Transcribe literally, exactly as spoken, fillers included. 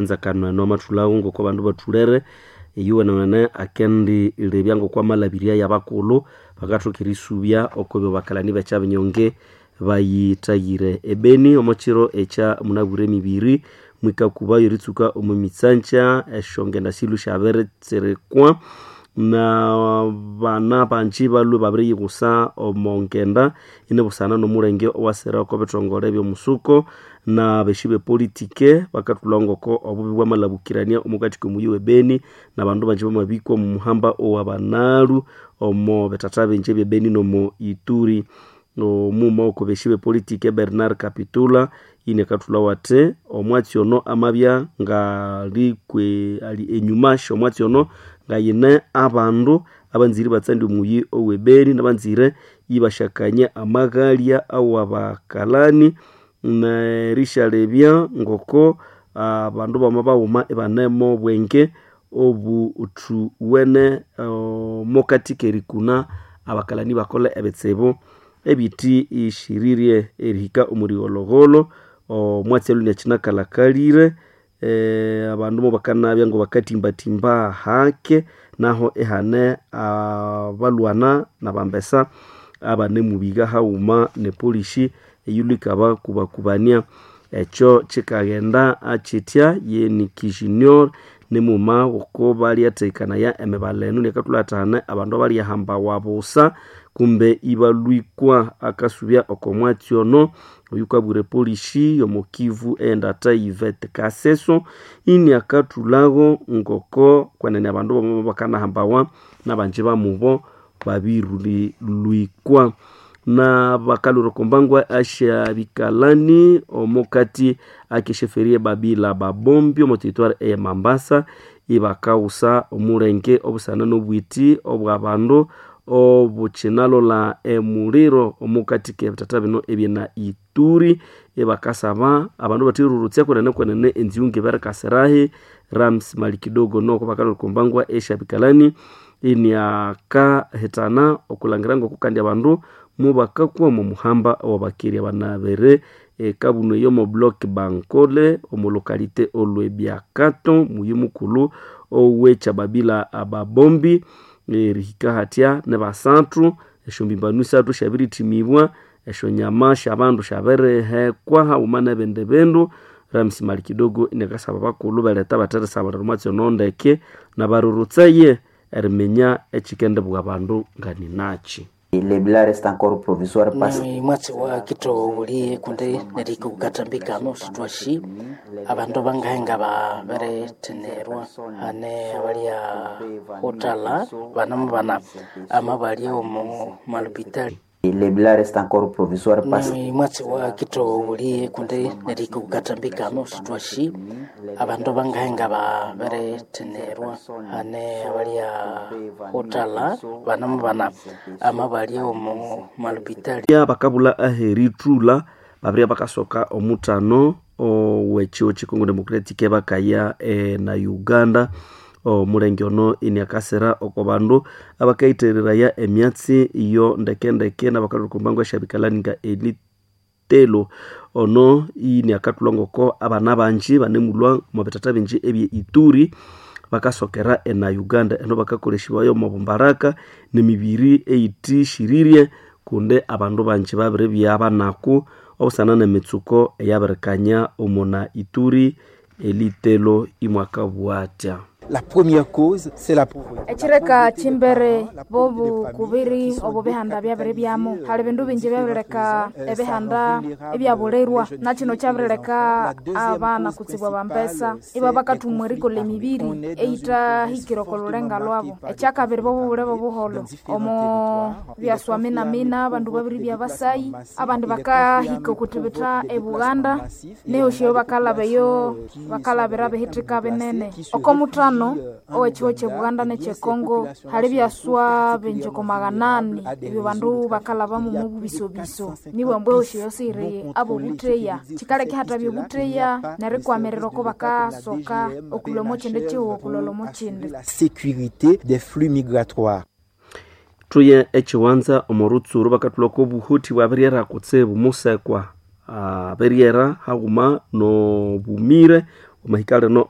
Enzakano eno amathulhawo ngoko abandu bathulere eyuwenewene akendi lebya ngoko amalabirya y'abakulhu bakathoka erisubya okubyo bakalani b'ekyabinyonge bayithayire. Ebeni omo kiro ekya munabwire emibiri mwikakubayo eritsuka omo mitsangya esyongenda silhwe syabiritsirikwa n'abana bangi balhwe babiriyighusa omo ngenda inibusana n'omulenge owasira oko bithongole eby'omusuko n'abesyi b'epolitike bakathulha ngoko obubi bwamalhabukirania omukati k'omuyi w'ebeni n'abandu bangi bamabikwa omu muhamba owabanalhu omo bithatha bingi eby'ebeni n'omo Ituri. Omuma oko besyi b'epolitike Bernard Kapitula inakathulhawo athi omwatsi ono amabya ngalikwe ali enyuma sy'omwatsi ono ngayine abandu abanzire ibatsandya omuyi ow'ebeni n'abanzire ibasyakanya amaghalya awabakalani n'erisyalebya ngoko abandu bama baghuma ibanemo obwenge obuthuwene omokati k'erikuna abakalani bakolhe ebitsibu ebiti ishirirye erihika omu righolhogholho omwatsi alhwe inakyinakalhakalire abandu mubakanabya ngabakatimbatimba hake naho ihane abalhwana n'abambesa abanemubiga haghuma n'epolisi eyilhwe ikabakubakubania. Ekyo kyikaghenda kyitya ye Nick Junior nimughuma oko balyathekanaya emibala eno inakathulha athi hane abandu abalyahambawa busa kumbe ibalhwikwa akasubya oko mwatsi ono oyukabwira epolisi y'omo Kivu eyendata Yvette Kaseso iniakathulhago ngoko kwenene abandu bamabya bakanahambawa n'abangi bamubo babirilwikwa. N'abakalhwira oko mbangwa esyabikalani omukati ak'esyeferi Babila Babombi omo territoire eye Mambasa ibakaghusa omulenge obusana n'obwiti obw'abandu obukyinalolha emuliro omukati k'ebithatha bino ebyena Ituri ibakasaba abandu batherurutsya kwenene kwenene enziwu ngibirikasirahi. Rams Malikidogo noko bakalhwira oko mbangwa esyabikalani iniakahithana okulhangira ngoko kandi abandu mubakakwa omo muhamba owabakeri abanabere ekabunu eyo omo block Bankole omo localité Olwebyakato muyi mukulhu ow'ekyababila Ababombi erihika hathya nibasathu esyombimbanu isathu syabirithimibwa esyonyama sy'abandu syabirihekwa haghuma n'ebindi bindu. Rams Malikidogo iniakasaba abakulhu beletha batherisabulira omwatsi ono ndeke n'abarurutsaye eriminya ekyikendibugha abandu nganinakyi. Le bilan reste encore provisoire parce Ni mwatsi wa kitowuliye kundi nerihika okukatambikano sithwashi abandu bangahenga babirithinerwa hane abalya hutala banamu bana amabalya omu malupitali. Le bilan reste encore provisoire parce Ni mwatsi wa kitowuliye kundi nerihika okukatambikano sithwashi abandu bangahenga babirithinerwa hane abalya hutala banamu bana amabalya omu malupitali. Bakabulha aherithulha babirya bakasoka omuthano ow'ekihugho ky'e Congo Democratic bakaya na Uganda. Omulenge ono iniakasira oko bandu abakayithereraya emyatsi iyo ndekendeke n'abakalhwira oko mbangu esyabikalani nga elitelo ono iniakathulha ngoko abana bangi banemulhwa omo bithatha bingi ebye Ituri bakasokera ena Uganda eno bakakolesibwayo omo bumbaraka n'emibiri eyithishirire kundi abandu bangi babiribya banaku obusana n'emitsuko eyabirikanya omuna Ituri elitelo imwakabugha athya. La première cause, c'est la pauvreté. Ekireka kimbere bobukubiri obo bihanda byabiri byamu hali bindu bingi byabirileka ebihanda ebyabulirwa nakino kyabirileka abana kutsibwa bambesa iba bakathumwa erikolha emibiri eyithahikire oko lulenga lwabo. Ekyakabiri bobubule bobuholho omo byaswa minamina abandu babiribya basayi abandi bakahika okuthibitha eBuganda nehosyo bakalaba eyo bakalabira bihithika binene. Oko muthano ow'ekihugho ky'eBuganda n'ekyekongo hali byaswa bingi oko maghanani ebyo bandu bakalhabamu omu bubisobiso nibwa ambu ehosi yosi iri abobutheya kyikaleka ihathabya obutheya nerikwamirira oko bakasoka okulhwa omo kyindi kihugho okulholha omo kyindi. La sécurité des flux migratoires. Thuye ekyiwanza omo rutsuru bakathulha oko obuhuthi bwabiryera kutsibu musekwa abiryera haghuma n'obumire omwahika lino.